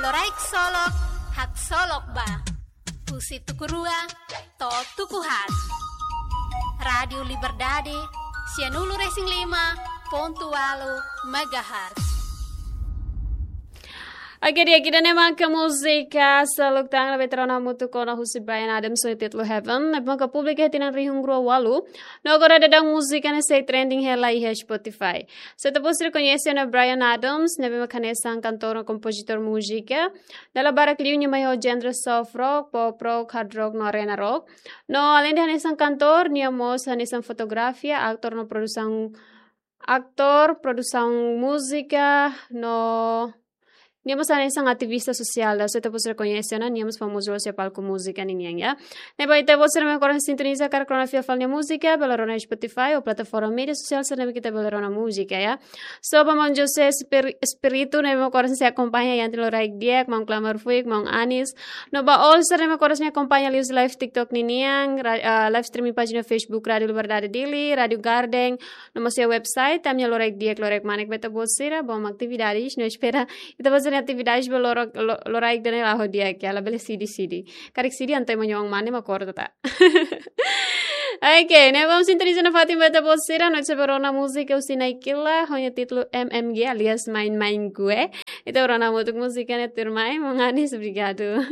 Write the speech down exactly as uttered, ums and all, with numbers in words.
Loraik Solok, haksolok ba. Husi tuku rua to'o tuku haat. Rádiu Liberdade, sianulu-resin-lima pontu ualu megahertz. Oke, di'ak, ida-ne'e mak múzika Seluk Tan ne'ebé ita rona hamutuk ona husi Bryan Adams ho títulu Heaven, ne'ebé maka publika iha tinan rihun rua ualu. No agora daudaun múzika ne'e sei trending hela iha Spotify. Se ita-boot sira koñese ona Bryan Adams, ne'ebé maka hanesan kantór no kompozitór múzika. Dala barak liu nia mai ho genre soft rock, pop rock, hard rock no arena rock. No aleinde hanesan kantór, nia mós hanesan fotografia, aktór no produsaun, aktór, produsaun múzika, no nia mós hanesan ativista sosiál, ida se ita-boot sira koñese ona, nia mós famozu loos iha palku múzika ninian, ya. Ne'ebé ita-boot sira ne'ebé mak oras sintoniza karik rona fila fali nia múzika, bele rona iha Spotify ou plataforma média sosiál sira ne'ebé ita bele rona múzika, ya. So, ba maun José Espir-, Espíritu, ne'ebé mak oras sei akompaña iha ita-nia loraik di'ak, maun Klamar Fuik, maun Anis. No ba all sira ne'ebé mak oras akompaña liuhusi live TikTok ninian, ra-, ah, live streaming pájina Facebook Rádiu Liberdade Dili, Rádiu Garden, no mós iha website, ami-nia loraik di'ak, loraik manek ba ita-boot sira, bom atividades, no espera ita-boot sira-nia atividades ba loro-, lo-, loraik ida-ne'e la'o di'ak, ya, labele sidi-sidi. Karik sidi entaun ema nia oan mane mak korta ta. Oke, ne'e bom, sintoniza nafatin ba ita-boot sira, no ita sei bá rona múzika husi Naikila, ho nia títulu M M G alias Main Main Gue. Ita rona hamutuk múzika ne'e tuirmai, maun Anis, obrigadu.